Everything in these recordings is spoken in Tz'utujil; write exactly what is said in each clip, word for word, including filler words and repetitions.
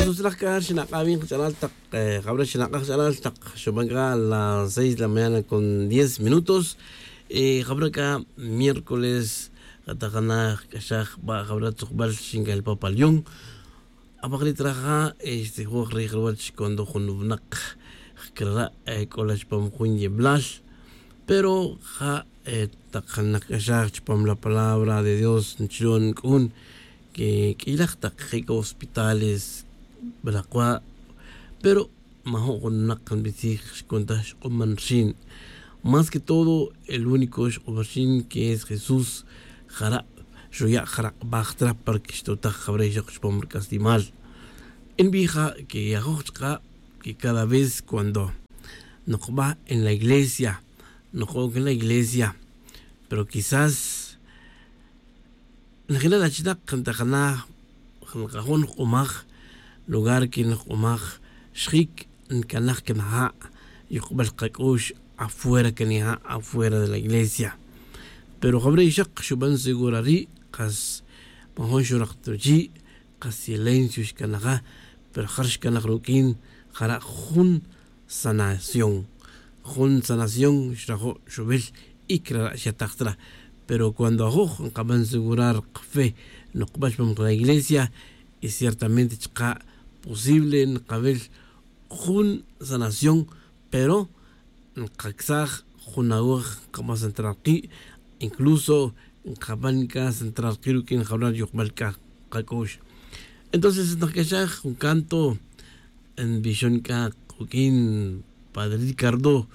Sutzlaj c'a xinak'aj vin kach'alal tak jabra xinak'aj kach'alal tak xuban c'a las seis de la mañana con diez minutos. Jabra c'a miércoles tak jana jc'axaj jba' jabra tzukbal xinca'el papalion. Apakri' traja este jwoj rij ruwach cuando jun winak jcrara' c'ola chupam jun yeblal. Pero ja' tak nakc'axaj chupam la palabra de dios nchilo' nc'un que q'uilaj tak jic' hospitales balakwa'. Pero majo' jun winak nbitzij xcuntaj xk'uman rxin. Más que todo el único xk'uman rxin que es jesús. Jara' xuya' jarak'baj tra para que xtotaj jabra ixok chupam rc'aslimal. Nbij ja' que ajoj chka' que cada vez cuando nokba en la iglesia, noko'oc en la iglesia, pero quizás najila' la chinak ntajana nkajo' nok'umaj lugar que nok'umaj xjic ncanaj can ja' yokbal kac'ux afuera can ja' afuera de la iglesia. Pero jawre' ixak xuban segura ri' kas majun xurak ta ruchi' kas silencio xcanaja. Pero jar xcanaj ruq'uin jara' jun sanación. Jun sanación xrajo' xubil y crara' xataj tra. Pero cuando ajoj nkaban segurar kafe nokba chupam ka la iglesia y ciertamente chka' posible nkawil jun sanación. Pero nkacsaj jun awaj nkaba central ki' incluso nkaban c'a central ki' ruq'uin jawra yojbal c'a kac'ux. Entonces nkac'axaj jun canto nbixon c'a kuq'uin padre ricardo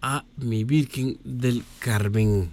a mi virgen del carmen.